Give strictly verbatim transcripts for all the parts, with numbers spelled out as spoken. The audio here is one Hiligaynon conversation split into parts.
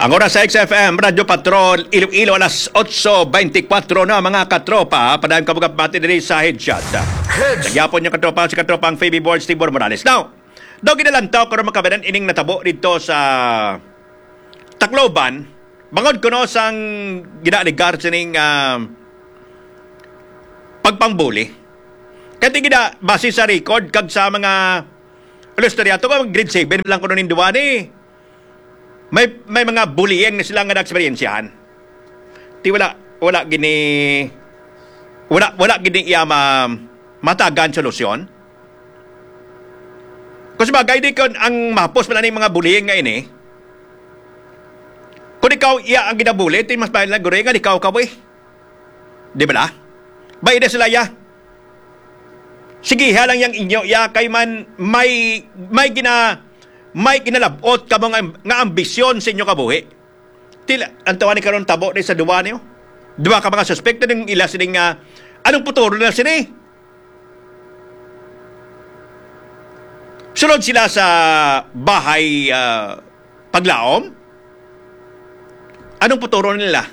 Ang oras sa X F M, Radyo Patrol, Iloilo, alas otso beintikwatro na, mga katropa. Padayon ka mga pati diri sa Headshot. Headshot. Nagyapon niyo, katropa, si katropang Fabi Borge, Tibor Morales. Now, daw ginalantaw ko na makabanan ining natabo dito sa Tacloban, bangod kuno sang ginaaligar sining, ah, pagpangbuli. Kaya di gina, base sa record, kag sa mga istorya to, kung grade seven lang kuno ning duwa ni, may, may mga bullying na sila nga na-eksperyensyahan. Ti wala, wala gini, wala, wala gini iya ma-, matagan solusyon. Kung sabagay, di kon ang mahapos man ani mga bullying nga ini, kung ikaw iya ang ginabuli, ti mas maayo lang guro nga ikaw ka, boy. Di ba la? Bay na sila, ya. Sige, ha lang yang inyo, ya, kay man may, may gina-, may ginalabot kamo nga, nga ambisyon sa inyo kabuhi. Tila, ang tawa ni karon tabo ni sa duwa niyo. Duwa ka mga suspek, ning ila sini nga, anong puturo na sini? Sulod sila sa bahay, ah, paglaom? Anong puturo nila?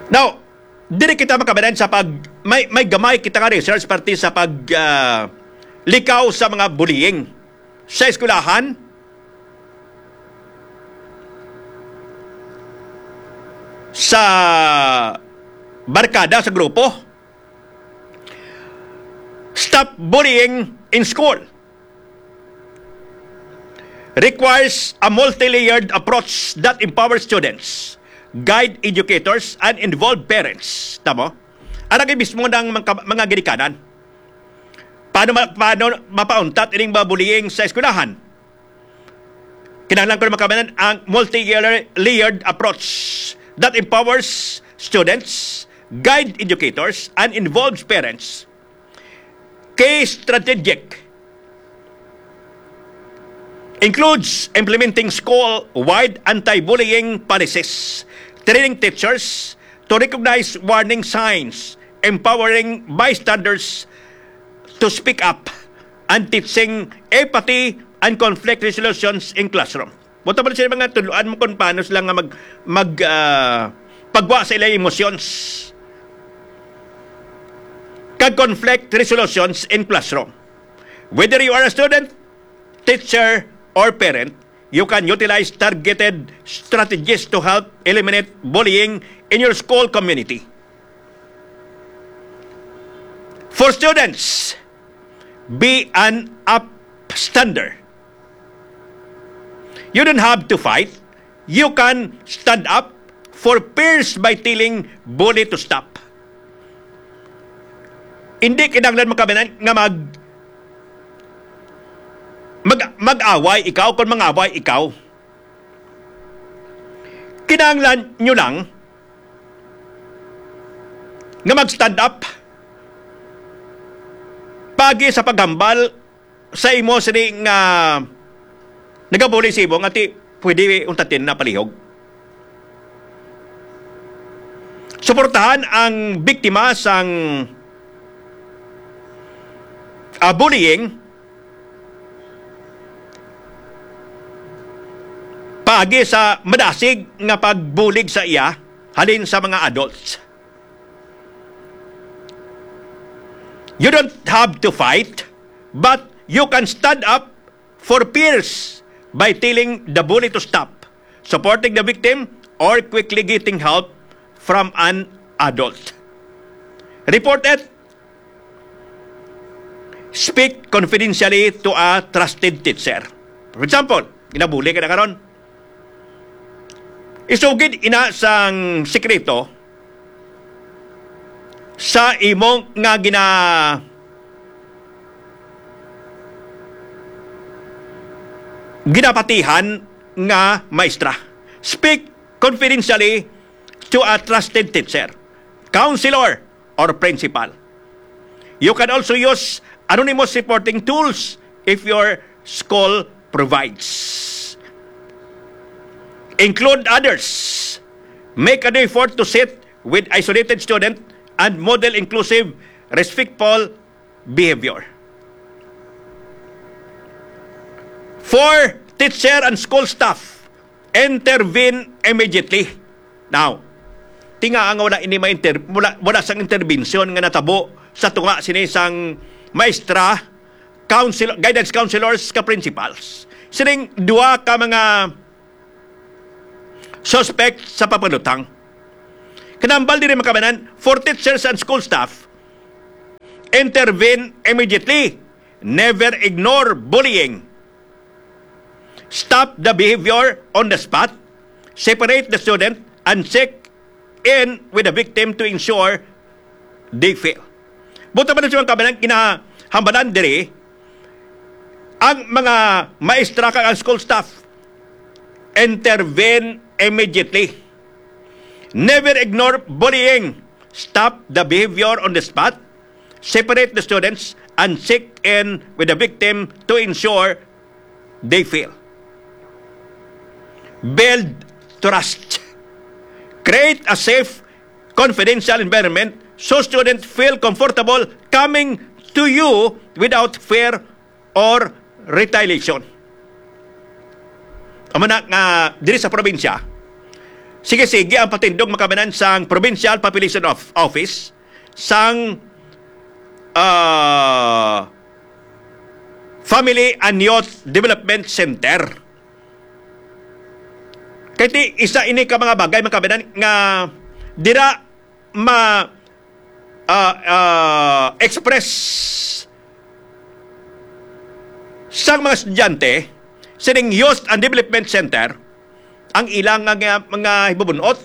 Now, diri kita makabanan sa pag, may, may gamay kita nga research parte sa pag, ah, likaw sa mga bullying sa eskwelahan, sa barkada, sa grupo. Stop bullying in school requires a multi-layered approach that empowers students, guide educators, and involve parents. Tamo? Ara kay mismo ng mga, mga ginikanan. Paano ma-, paano mapauntat ining mga bullying sa eskwelahan? Kinahanglan ko na makabanan ang multi-layered approach that empowers students, guide educators, and involves parents. Key strategic includes implementing school-wide anti-bullying policies, training teachers to recognize warning signs, empowering bystanders to speak up, and teaching empathy and conflict resolutions in classroom. Buta pa sila mga tudloan mo kung paano sila nga mag, mag, ah, pagwa sa ilang emotions. Kag conflict resolutions in classroom. Whether you are a student, teacher, or parent, you can utilize targeted strategies to help eliminate bullying in your school community. For students, be an upstander. You don't have to fight. You can stand up for peers by telling bully to stop. Hindi kinahanglan makabanan nga mag, mag, mag-away ikaw kung mangaway ikaw. Kinahanglan nyo lang nga mag-stand up pagi sa paghambal sa imo sini nga nagabuli sa imo nga ti pwede untatin na palihog. Suportahan ang biktima sang, ah, bullying paagi sa madasig nga pagbulig sa iya halin sa mga adults. You don't have to fight, but you can stand up for peers by telling the bully to stop, supporting the victim, or quickly getting help from an adult. Report it. Speak confidentially to a trusted teacher. For example, ginabuli ka na karon. Isugid ina sang sikreto sa imo nga gina-, ginapatihan nga maestra. Speak confidentially to a trusted teacher, counselor, or principal. You can also use anonymous reporting tools if your school provides. Include others. Make an effort to sit with isolated student and model inclusive, respectful behavior. For teacher and school staff, intervene immediately. Now, tinga nga wala ini ma-inter-, wala, wala sang intervention nga natabo sa tunga sini sang maestra, counsel-, guidance counselors ka principals. Sining duha ka mga suspect sa pagpanutang. Kanambal diri, mga kabanan, for teachers and school staff, intervene immediately. Never ignore bullying. Stop the behavior on the spot. Separate the student and check in with the victim to ensure they fail. Buta pa na sa mga kabanan, kinahambalan diri ang mga maestra kag ang school staff. Intervene immediately. Never ignore bullying. Stop the behavior on the spot. Separate the students and check in with the victim to ensure they fail. Build trust. Create a safe, confidential environment so students feel comfortable coming to you without fear or retaliation. Amo na nga diri sa probinsya, sige-sige ang patindog, mga kabanan, sang Provincial Population of Office, sang, ah, Family and Youth Development Center. Kay ti, isa ini ka mga bagay, mga kabanan, nga dira ma, ah, ah, express sang mga estudyante sining Youth and Development Center ang ilang nga, nga, mga hibubunot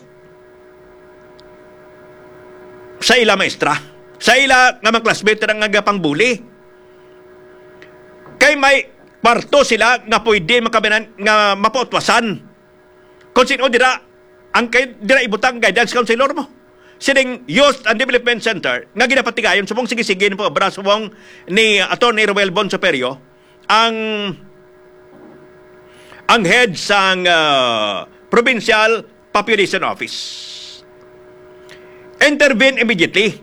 sa ila maestra, sa ila nga mga classmate nga nagapangbuli. Kay may kwarto sila nga pwede, mga kabanan, nga mapautwasan. Kung sino dira, ang kay dira ibutang guidance counselor mo. Sining Youth and Development Center nga ginapatigayon subong sige-sige ni pag-obra subong ni Attorney Roel Bon Superio, ang, ang head sang, ah, Provincial Population Office. Intervene immediately.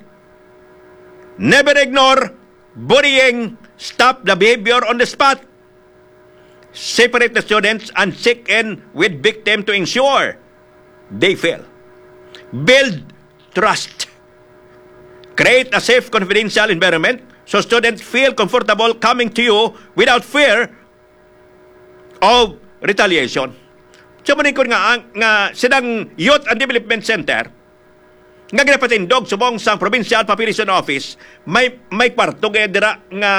Never ignore bullying. Stop the behavior on the spot. Separate the students and check in with victim to ensure they fail. Build trust. Create a safe, confidential environment so students feel comfortable coming to you without fear of retaliation. So, maningkod nga ang, nga silang Youth and Development Center, nga ginapatindog subong sang Provincial Population Office, may, may kwarto gaya dira nga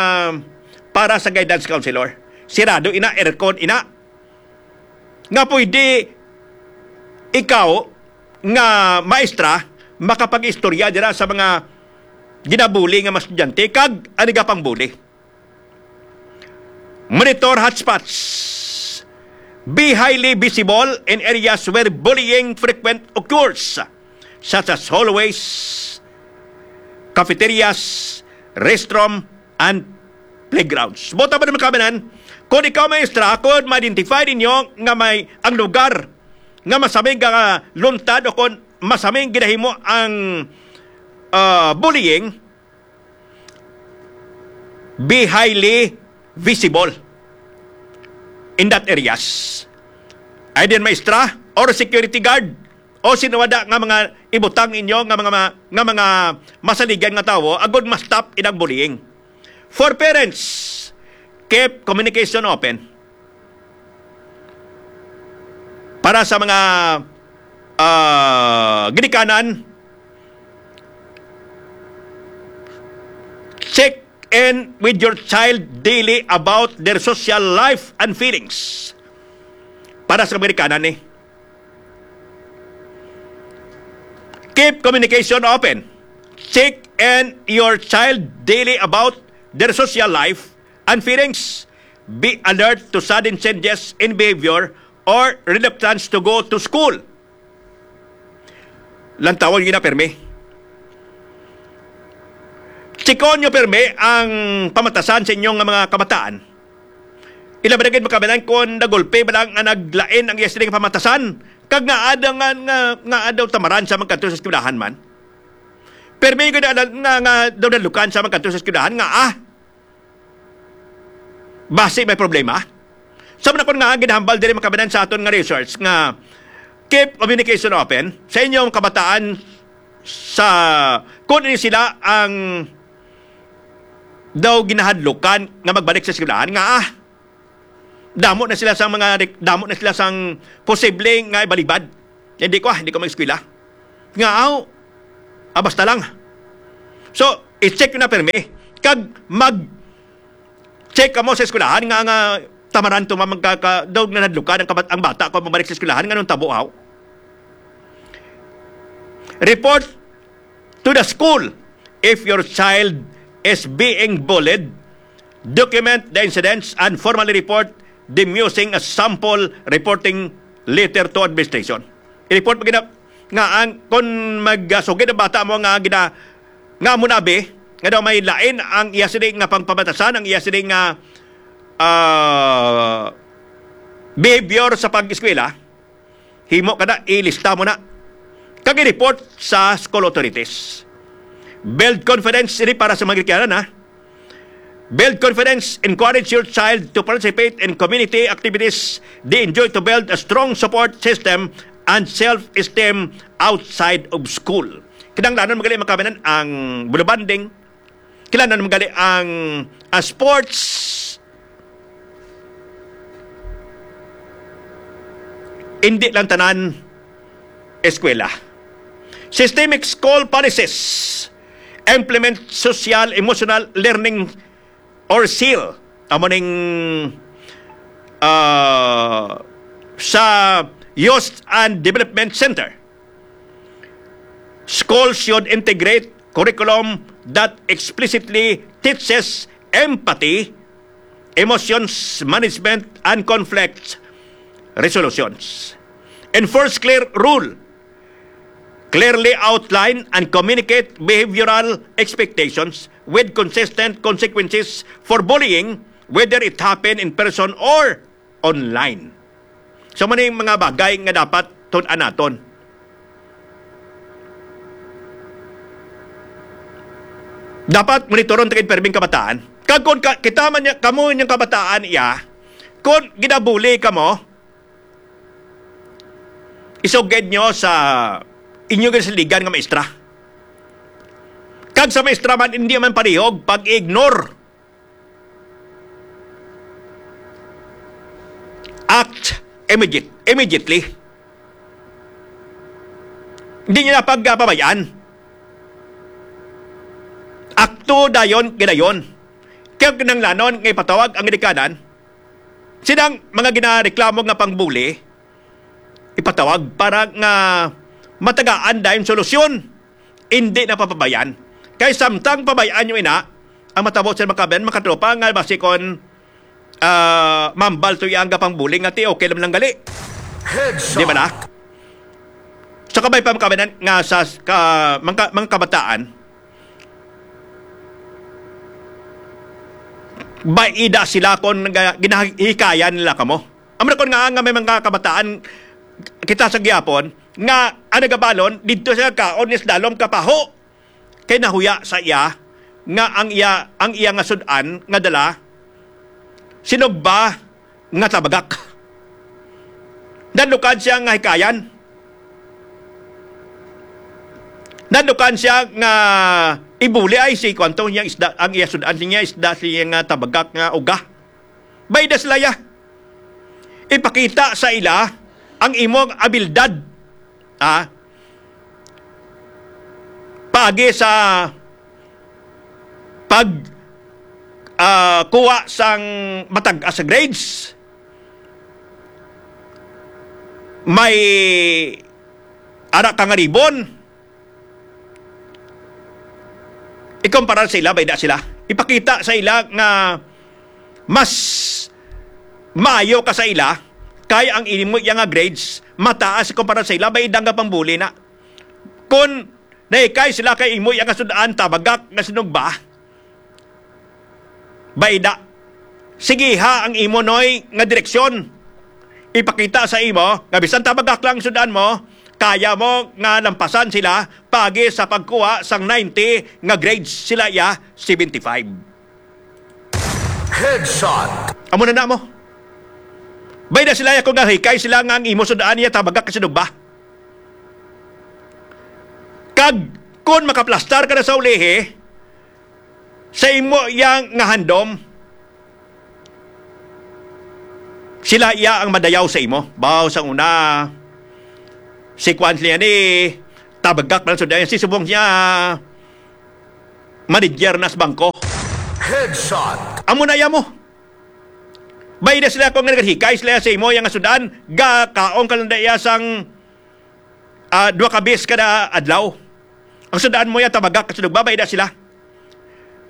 para sa guidance counselor. Sirado ina, aircon ina. Nga pwede ikaw nga maestra makapag-istorya dira sa mga ginabuli nga mga estudyante kag ang nagapangbuli. Monitor hotspots. Be highly visible in areas where bullying frequent occurs, such as hallways, cafeterias, restroom, and playgrounds. Buta pa naman kami nan, kung ikaw, maestra, kung ma-identify ninyo nga may ang lugar nga masaming nga luntad o kung masaming ginahimo ang, ah, bullying, be highly visible in that areas. Either maestra or security guard o sino wada nga mga ibutang inyo nga mga ma-, nga mga masaligan nga tawo agod ma-stop inang bullying. For parents, keep communication open. Para sa mga, ah, ginikanan, check in with your child daily about their social life and feelings. Para sa ginikanan ni, keep communication open. Check in your child daily about their social life and feelings. Be alert to sudden changes in behavior or reluctance to go to school. Lantawon niyo na pirmi. Chikon niyo pirmi ang pamatasan sa inyong mga kabataan. Ila ba na gid makabanan kung nagulpi ba lang nga naglain ang iya sining pamatasan? Kag nga adaw nga, nga, nga adaw tamaran sa magkadto sa eskwelahan man? Pirmi gid na, nga, nga daw nalukan sa magkadto sa eskwelahan nga, ah, basi may problema. Sa manakon nga ginahambal diri, mga kababayan, sa aton nga research nga keep communication open sa inyong kabataan, sa kung ini sila ang daw ginahadlukan nga magbalik sa eskwelahan, nga, ah, damo na sila sang mga rek-, damo na sila sang posible nga ibalibad. Hindi ko, ah, hindi ko mag-eskwela. Nga, aw, ah, basta lang. So, i-check nyo na pirmi. Kag mag-check kamo sa eskwelahan nga, nga tamaran to, ma-, magkaka-, daw nga nadlukan ang kabat-, ang bata kung mabalik sa eskwelahan, nga nung tabo, aw. Report to the school if your child is being bullied. Document the incidents and formally report them using a sample reporting letter to administration. I-report mo gina-, nga ang, kung magsugid ang bata mo nga gina-, nga amo na abi, nga daw may lain ang iya sini nga pangpamatasan, ang iya sini nga, ah, behavior sa pag-eskwela, himo ka na, ilista mo na, kag i-report sa school authorities. Build confidence, ini para sa mga ginikanan, ha. Build confidence, encourage your child to participate in community activities they enjoy to build a strong support system and self-esteem outside of school. Kinahanglanon man gali, mga kababayan, ang bonding. Kinahanglanon man gali ang, ah, sports. Hindi lang tanan eskwela. Systemic school policies. Implement social emotional learning or seal. Amo ning, ah, sa Youth and Development Center. Schools should integrate curriculum that explicitly teaches empathy, emotions management, and conflict resolutions. Enforce clear rule. Clearly outline and communicate behavioral expectations with consistent consequences for bullying, whether it happen in person or online. So, mao ni mga bagay nga dapat tun-an naton. Dapat monitoron ta gid pirming kabataan. Kag kung ka-, kita man niya, kamo niyang kabataan iya, kung ginabuli kamo, isugid nyo sa inyo ginasaligan nga maestra. Kag sa maestra man, hindi man palihog pag-ignore. Act immediate, immediately. Hindi niya na pagpabayaan. Akto dayon, gidayon. Kaya kinahanglanon nga ipatawag ang ginikanan, silang mga ginareklamo nga pangbuli, ipatawag para nga matagaan dayon solusyon. Hindi na papabayaan. Kay samtang pabayaan nyo ina, ang matabo sa makaben, makatropa, nga basi kon, ah, mambal to iya ang gapang bullying, nga ti okay lang lang gali. Headshot. Di ba na? Sa kabay pa makabenan nga sa ka, mga, mga kabataan, baida sila kon ga-, ginahikayan nila kamo. Amo na kon nga, nga may mga kabataan kita sa gihapon nga ang nagabalon didto sa kaon ni Slalom Kapaho kay nahuya sa iya nga ang iya, ang iya nga sud-an nga dala sinugba nga tabagak. Nadlukan siya nga hikayan. Nadlukan siya nga ibuli ay si kwanto niya isda, ang iya sud-an niya isda siya nga tabagak nga uga. Bayda sila ya. Ipakita sa ila ang imong abilidad. Ah, paagi sa pag, ah, kuha sang matag-as sa grades, may ara ka nga ribbon. Ikumpara sa ila, bayda sila. Ipakita sa ila nga mas maayo ka sa ila, kay ang imo iya nga grades mataas kumpara sa ila, bayda nga pangbuli na. Kon nahikay sila kay imo iya nga sud-an tabagak nga sinugba, bayda. Sigiha ang imo, Noy, nga direksyon. Ipakita sa imo nga bisan tabagak lang sud-an mo, kaya mo nga lampasan sila paagi sa pagkuha sang ninety nga grades sila iya seventy-five. Headshot. Amo na na mo. Bay-i na sila, ako nga hikay sila nga ang imo sud-an iya tabagak ka sa dugba. Kag kun makaplastar ka na sa ulihi, sa imo iya nga handom, sila iya ang madayaw sa imo. Baw sang una, si kuan niya ni tabagak man sud-an, si subong niya manager na sa bangko. Headshot. Amo na iya mo. Bay-i na sila kung naghikay sila sa imo, iya nga sud-an, gakaon ka lang da iya sang, ah, duha ka bis kada adlaw. Ang sud-an mo iya tabagak, kasi nagbabay na sila.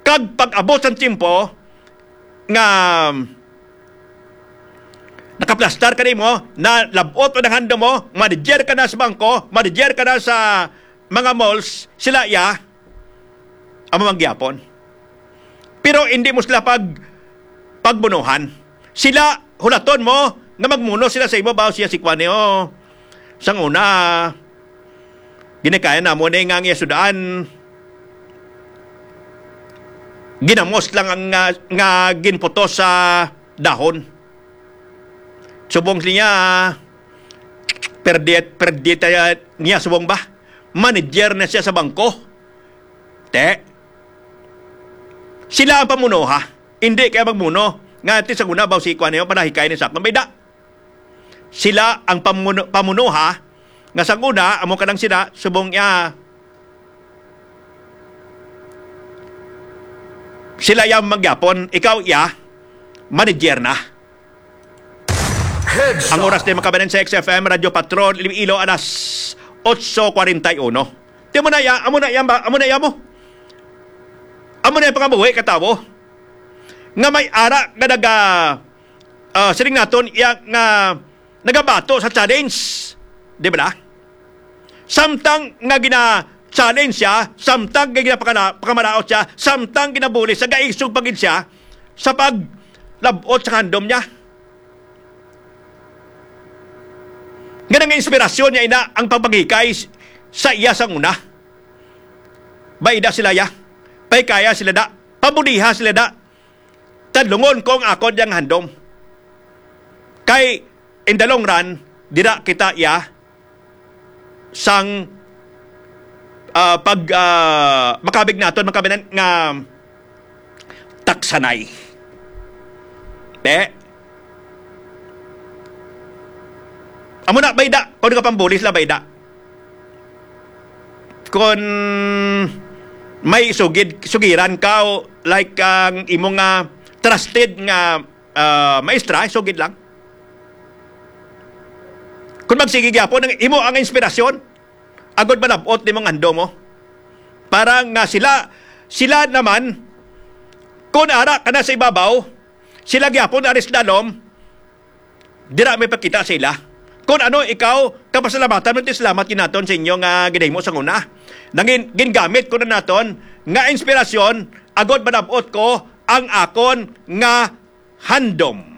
Kag pag-abot sang tiyempo nga nakaplastar ka nimo, na labot ang handom mo, manager ka na sa bangko, manager ka na sa mga malls, sila iya, amo man gyapon. Pero hindi mo sila pag-, pagbunuhan. Sila, hulaton mo nga magmuno sila sa imo, baw siya si kuan niyo. Sang una, ginikayan namo ni nga ang iya sud-an, ginamos lang ang, nga, nga ginputos sa dahon. Subong niya, perdi, perdi ta niya subong ba? Manager na siya sa bangko. Te, sila ang pamunuha. Hindi kaya magmuno. Nga, ti sa una, baw si kuan niyo, panahikay ni sa akon. Bay-i na. Sila ang pamuno-, pamunuha. Nga sa una, amo ka lang sila, subong iya. Sila iya man gyapon, ikaw iya, manager na. Heads Ang up. Oras na makabanan sa X F M Radyo Patrol Iloilo, alas otso kwarenta y uno. Di mo na iya, amo na iya ba? Amo na iya mo. Amo na iya pangabuhi ka tawo. Nga may ara nga naga, ah, siling naton iya nga nagabato sa challenge. Di ba na? Samtang nga gina-challenge siya, samtang nga ginapakala-, pakamaraot siya, samtang ginabuli siya, gaisog pa gid siya sa paglabot sa handom niya. Nga nang inspirasyon niya ina ang pagpangikay s-, sa iya sang una. Bay-i na sila ya. Paikaya sila da. Pabuliha sila da. Tadlungon ko ang akon yang handom. Kay, in the long run, dira kita iya sang, ah, pag, ah, makabig naton, makabinan nga taksanay. Te? Amo na, bay-i na. Kung ka pambuli sila, bay-i na. Kung may sugid, sugiran ka, o like ang imo nga trusted nga, ah, maestra, sugid lang. Kung magsigi gyapon, ang imo ang inspirasyon, agod malab-ot nimo ang handom mo. Para nga sila, sila naman, kung ara ka na sa ibabaw, sila gyapon ari sa dalom, dira may pakita sa ila. Kung ano ikaw, kapasalamatan mo, ti salamat gid naton sa inyo nga ginahimo sa una. Nangin-, gingamit ko na naton nga inspirasyon, agod malab-ot ko ang akon nga handom.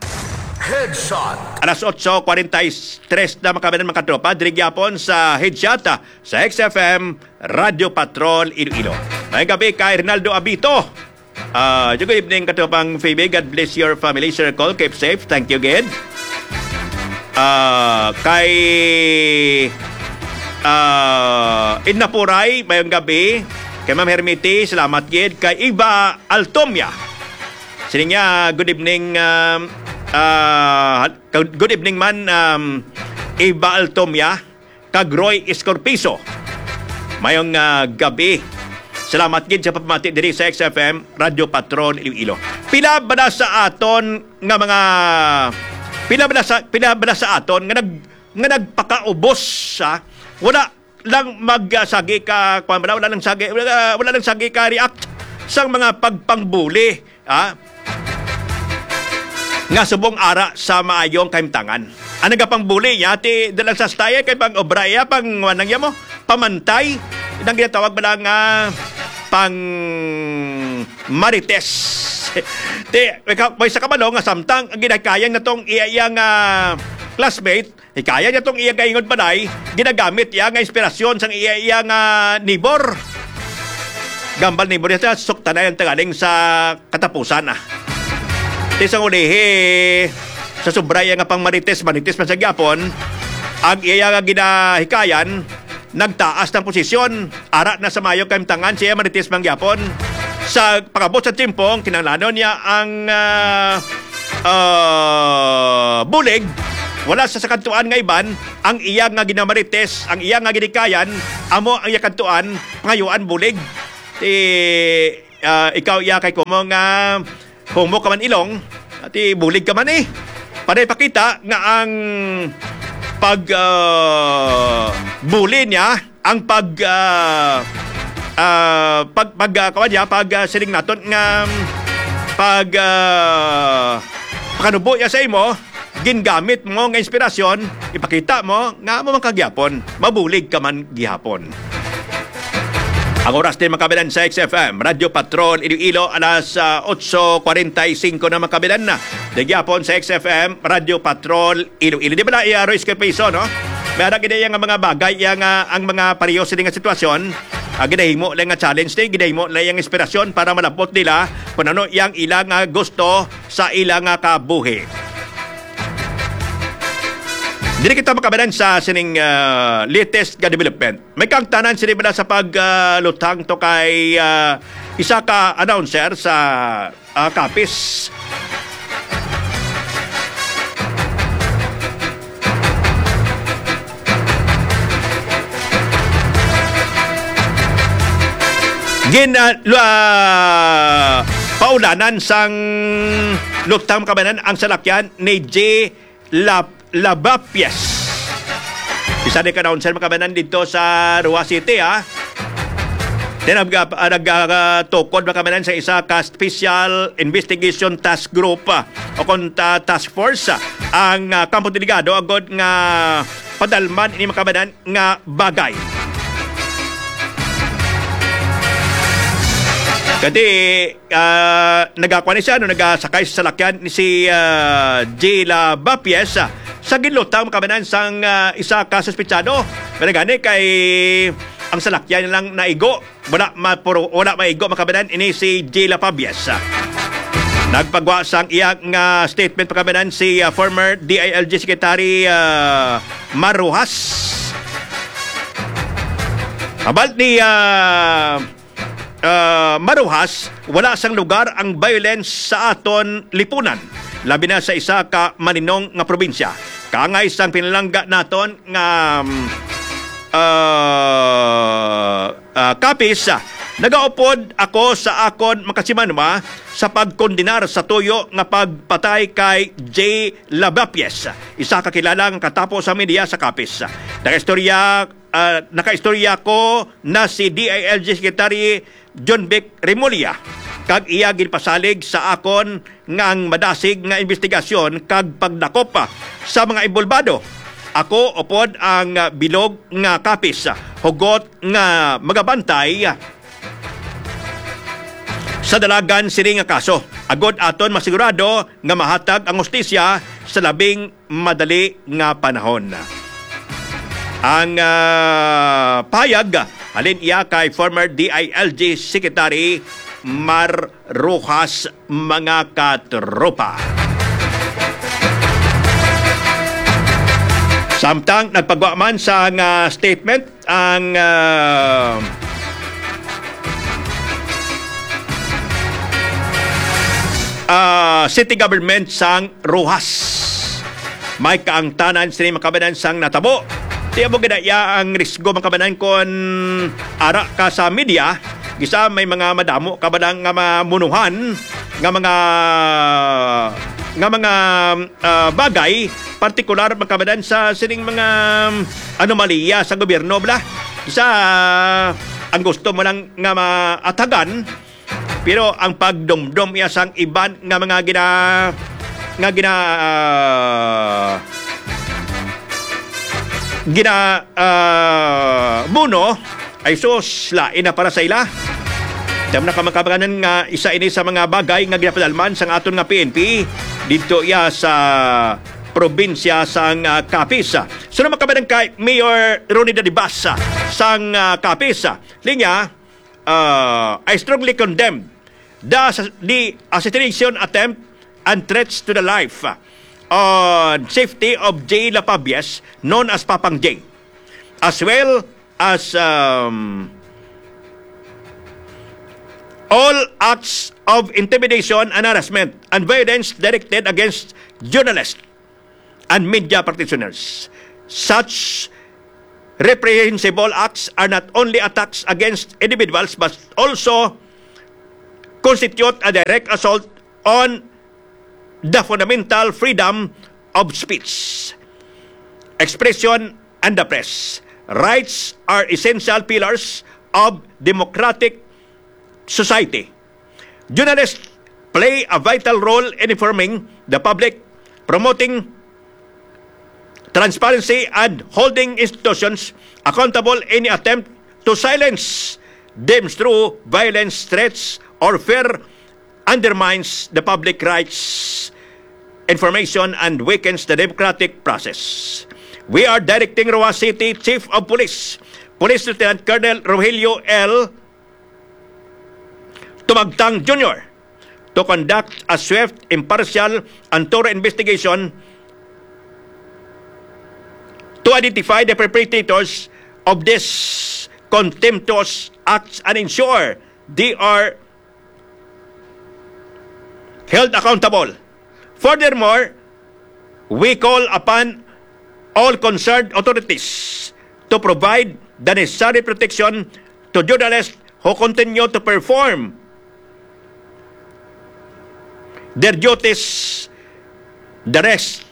Headshot. Alas otso kwarenta y tres na makabanan, mga katropa. Diri gyapon sa Headshot, ah, sa X F M Radyo Patrol Iloilo. May gabi kay Rinaldo Abito. Ah, good evening, katropang Phoebe. God bless your family circle. Keep safe. Thank you, gid. Ah, kay, ah, Edna Puray, mayong gabi. Kay Ma'am Hermity, salamat, gid. Kay Eva Altomia. Sini niya, good evening, um, ah, good evening man, um, Eva Altomia. Kag Roy Escorpizo. Mayong, ah, gabi. Salamat gid sa pagpamati diri sa X F M Radyo Patrol Iloilo. Pila ba na sa aton nga mga, pila ba na sa, pila ba na sa aton nga nag-, nga nagpakaubos, ha? Wala lang mag, ah, sagi ka, kuwan ba na? Wala lang sagi, wala, wala lang sagi ka react sang mga pagpangbuli. Ha? Nga subong ara sa maayong kahimtangan. Ang nagapangbuli niya, ti, dalang sa style kay pang obra iya, pang, wanang iya mo, pamantay, nang ginatawag ba lang nga pang marites. Ti, may ka-, may sa kabalo nga samtang ang ginakayang natong iya, iya nga classmate, hikaya niya tong iya gaingon balay, ginagamit iya nga inspirasyon sang iya, iya nga nibor. Gambal nibor niya, suktanay ang tagaling sa katapusan, ah. Ti sang ulihi, sa sobra iya nga pang marites, marites man sa gyapon, ang iya nga ginahikayan, nagtaas ng posisyon. Ara na sa mayo kahimtangan siya marites man gyapon. Sa pagabot sa tiempo, kinahanglanon niya ang, ah, ah, bulig. Wala sa sakantuan nga iban, ang iya nga ginamarites, ang iya nga ginikayan, amo ang iya kantuan, pangayuan bulig. Ti, ah, ikaw iya kay kumo nga kumo ka man ilong, ti bulig ka man eh. Para ipakita nga ang pag, ah, bully niya, ang pag, ah, ah, pag, pag, ah, kawan niya, pag, ah, siling naton nga pag, ah, pakanubo niya sa imo, gingamit mo nga inspirasyon, ipakita mo nga amo man ka gyapon, mabulig ka man gihapon. Ang oras din, mga kababayan, sa X F M Radyo Patrol Iloilo, alas, ah, otso kwarenta y singko na, mga kababayan, na. Di gyapon sa X F M Radyo Patrol Iloilo. Di ba na iya, Royce Carpizo, no? May ara gid iya nga mga bagay, iya nga ang mga pareho sini nga sitwasyon, ah, ginahimo lang nga challenge, di, ginahimo lang yang inspirasyon para malabot nila kung ano yang ila nga gusto sa ila nga kabuhi. Diri kita makabanan sa sining, ah, latest nga development. May kaangtanan sini bala sa pag, ah, lutang to kay, ah, isa ka announcer sa, ah, Capiz. Gin, ah, lu-, ah, paulanan sang lutang, mga kababayan, ang salakyan ni J Lab-, Labapies. Isa ni ka announcer, mga kababayan, dito sa Roxas City, ha. Then, nag-, ah, nag-, ah, tukod, mga kababayan, sa isa ka Special Investigation Task Group, ah, o kon ta-, Task Force, ah, ang, ah, Campo Delgado, agod nga padalman ini, mga kababayan, nga bagay. Kadi, ah, nagakuha ni siya, no, nagasakay sa salakyan ni si, ah, Jila Bapies, ah, sa ginlutang, mga kababayan, sang, ah, isa ka suspitsado. Pero gani kay ang salakyan lang naigo. Wala mapuro-, wala maigo, mga kababayan, ini si Jila Pabies. Nagpagwa sang iya nga statement, mga kababayan, si, ah, former D I L G Secretary, ah, Mar Roxas. Abal ni, ah, ah, Mar Roxas, wala sang lugar ang violence sa aton lipunan, labi na sa isa ka maninong nga probinsya. Kaangay sang pinalangga naton nga, mm, ah, ah, Capiz, ah, nagaupod ako sa akon makasimanwa sa pagkondenar sa tuyo nga pagpatay kay J Labapies, isa ka kilala nga katapo sa media sa Capiz. Nakaistorya, ah, nakaistorya ko na si D I L G Secretary John Vic Remulla, kag iya ginpasalig sa akon nga ang madasig nga investigasyon kag pagdakop, ah, sa mga inbolbado. Ako upod ang, ah, bilog nga Capiz, ah, hugot nga magabantay, ah, sa dalagan sini nga kaso, agod aton masigurado nga mahatag ang hustisya sa labing madali nga panahon. Ang, ah, payag halin iya kay former D I L G Secretary Mar Roxas, mga katropa. Samtang nagpagwa man sa nga statement ang, ah, ah, city government sang Roxas. May kaangtanan sini, mga kababayan, sang natabo. Tiya mo gid iya ang risgo, mga kababayan, kon ara ka sa media, gisa may mga madamo ka ba lang nga mamunuhan nga mga, nga mga, ah, bagay, partikular, mga kababayan, sa sining mga, um, anomalya sa gobyerno, bala. Gisa ang gusto mo lang nga maatagan, pero ang pagdumdom iya sang iban nga mga gina-, nga gina-, ah, gina-, ah, muno, ay sus, lain na para sa ila. Tama na ka, mga kababayan, nga isa ini sa mga bagay nga ginapadalman sang aton nga P N P didto iya sa probinsya sang, ah, Capiz. Sunod, mga kababayan, kay Mayor Ronnie Dadibas, ah, sang, ah, Capiz. Linya, uh, I strongly condemn the, the assassination attempt and threats to the life, uh, on safety of Jay Lapabias, known as Papang Jay, as well as, um, all acts of intimidation and harassment and violence directed against journalists and media practitioners. Such reprehensible acts are not only attacks against individuals but also constitute a direct assault on the fundamental freedom of speech, expression, and the press. Rights are essential pillars of democratic society. Journalists play a vital role in informing the public, promoting transparency, and holding institutions accountable. Any attempt to silence them through violence, threats, or fear undermines the public rights information and weakens the democratic process. We are directing Roxas City Chief of Police, Police Lieutenant Colonel Rogelio L. Tumagtang Junior to conduct a swift, impartial, and thorough investigation to identify the perpetrators of these contemptuous acts and ensure they are held accountable. Furthermore, we call upon all concerned authorities to provide the necessary protection to journalists who continue to perform their duties, the rest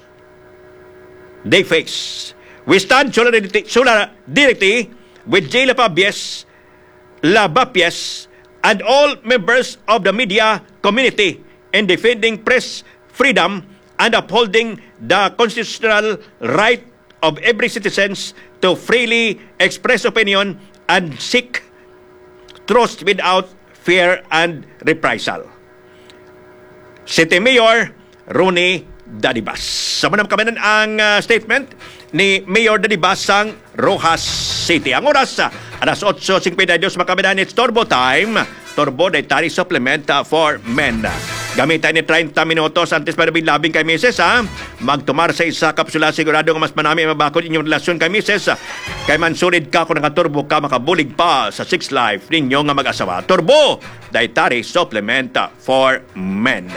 they face. We stand solidarity, solidarity with Jay Lapabias, Labapias, and all members of the media community in defending press freedom and upholding the constitutional right of every citizens to freely express opinion and seek truth without fear and reprisal. City Mayor Ronnie Dadibas. Sa manam kamanan ang, ah, statement ni Mayor Dadibas sang Roxas City. Ang oras, ah, alas otso singkwenta y dos, mga kamanan, it's Turbo Time. Turbo Dietary Supplement, ah, for Men. Gamita ni treinta minutos antes pa labing kay misis, ha. Magtumar sa isa kapsula, sigurado nga mas manami mabakod inyong relasyon kay misis. Kay mansulid ka kung nakaturbo ka, makabulig pa sa sex life ninyo nga mag-asawa. Turbo Dietary Supplement, ah, for Men.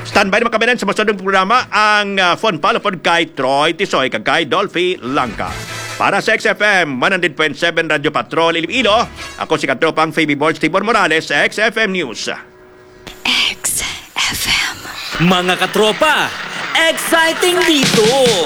Standby na, mga kamanan, sa masunod nga programa ang, ah, Phone Palo pod kay Troy Tisoy kag kay Dolphy Langka. Para sa X F M one hundred point seven Radyo Patrol Iloilo, ako si katropang Phoebe Borge Tibor Morales sa X F M News. X F M. Mga katropa, exciting dito!